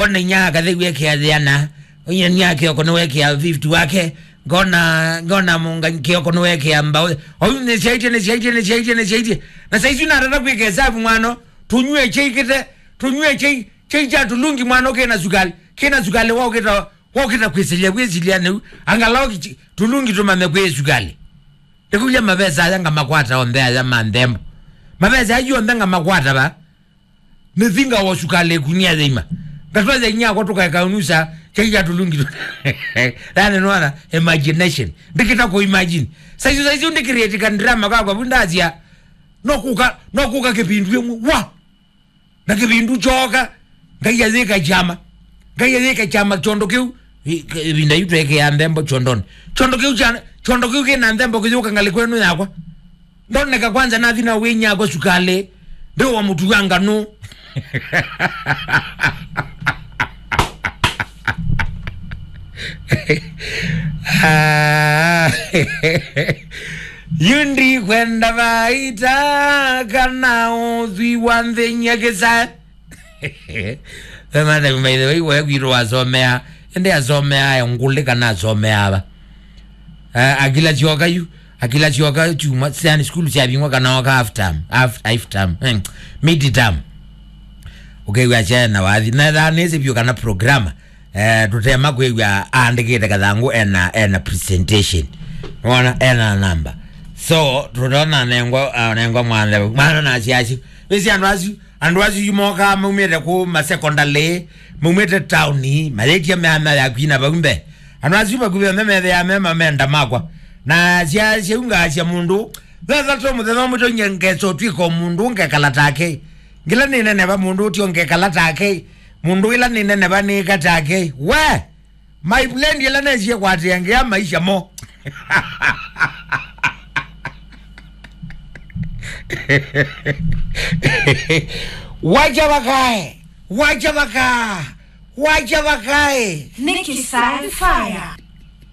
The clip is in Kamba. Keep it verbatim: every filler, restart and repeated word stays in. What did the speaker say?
Ngona inya akatheu ekĩa thĩana. Inya nĩ akĩoko nĩ wekĩa fifty wake. Ngona, ngona mũnga kĩoko nĩ wekĩa mbaũ. Oyu nĩ syaitye, nĩ syaitye, nĩ syaitye, nĩ syaitye. Na saisu natata kwĩka hesabu mwana. Tũnyue chai kĩte, tũnyue chai, chai cha tulungi mwana kĩna sukali. Kĩna sukali wa ũkĩta, wa ũkĩta kwĩsilya, kwĩsilya nĩu. Angalau kichi-, tulungi tũmame kwĩ sukali. Ndĩkũlya mavesa aya ngamakwata onthe aya ma nthembo. Mavesa ayu onthe ngamakwata va. Nĩthinga wa sukali ĩkunia yĩima. Ngatwaza inyakwa tũkaeka unusa, chai ya tulungi tu. Yani nwana, imagination. Ndikita ku imagine. Saizi, saizi ndikirĩtika drama kakwa vu ndasya. No kuka, no kuka kĩvindu ĩmwe. Wa! Na kĩvindu kyoka. Ngai ayĩka kyama. Ngai ayĩka kyama kyondo kĩu. Ĩ-, ĩvinda yu twekea nthembo kyondoni. Kyondo kĩu kya, kyondo kĩu kĩna nthembo kĩyũka ngalĩ kwenu yakwa. Ndoneka kwanza nathi na wĩnyakwa sukali. Ndĩ wa mũtu wa nganu. Ah. Yu ndikwenda vaita kana ũthwi wa nthĩny'a kĩsa. Ve mwana, by the way, we kwitũ wasomea, ende asomea ya ngũlĩ kana asomea ava. Eh, akila syoka yu, akila syoka chuma, yani school syavingwa kana oka half term, half, half term, eh, mid term. Ũkew'a chena wathi, na thaa nĩsĩ vyũ kana programmer, eh, tũtema kwĩw'a aandĩkĩte kathangũ ena, ena presentation. Nĩwona, ena namba. So, tũtona nengwa, ah, nengwa mwana, mwana na asyasyo. Wĩsĩ andũ asu, andũ asu yu mokaa maumĩte kũ ma secondary, maumĩte taoni, mayĩtie meamea ya kwina vau mbee. Andũ asu vakuvĩ onthe methĩaa me mamenda makwa. Na sya, syaungaasya mũndũ, thethatu mũthenya ũmwe tonyie ngeso twĩka o mũndũ ngekala take. Ngila nĩ nene va mũndũ ũtio ngekala take. Mũndũ ĩla nĩ nene va nĩka take. We! My friend ĩla nesie kwatĩa ngĩa maisha mo. Wacha vakae. Wacha vakae. Wacha vakae. Nĩ Kisai Fire.